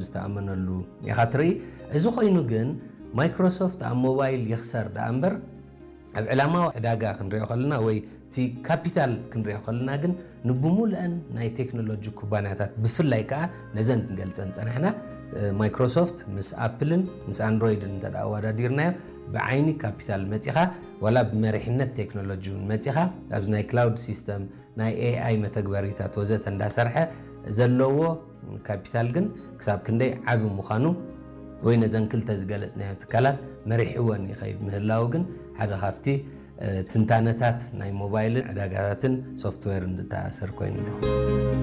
ዝተኣመነሉ ኢኻ ትርኢ። እዚ ኮይኑ ግን ማይክሮሶፍት ኣብ ሞባይል ይኽሰር ደኣ እምበር ኣብ ዕላማዊ ዕዳጋ ክንሪኦ ከለና ወይ እቲ ካፒታል ክንሪኦ ከለና ግን ንብሙሉአን ናይ ቴክኖሎጂ ኩባንያታት ብፍላይ ከዓ ነዘን ክንገልፀን ፀናሕና ማይክሮሶፍት ምስ ኣፕልን ምስ ኣንድሮይድን እንተ ኣወዳዲርናዮ ብዓይኒ ካፒታል መፂኻ ዋላ ብመሪሕነት ቴክኖሎጂ እውን መፂኻ ኣብዚ ናይ ክላውድ ሲስተም ናይ ኤኣይ መተግበሪታት ወዘተ እንዳሰርሐ ዘለዎ ካፒታል ግን ክሳብ ክንደይ ዓቢ ምዃኑ ወይ ነዘን ክልተ ዝገለጽናዮ ትካላት መሪሕወን ይኸይድ ምህላው ግን ሓደ ካብቲ ትንታነታት ናይ ሞባይልን ዕዳጋታትን ሶፍትዌር እንድተኣሰር ኮይኑ ኣለኹ።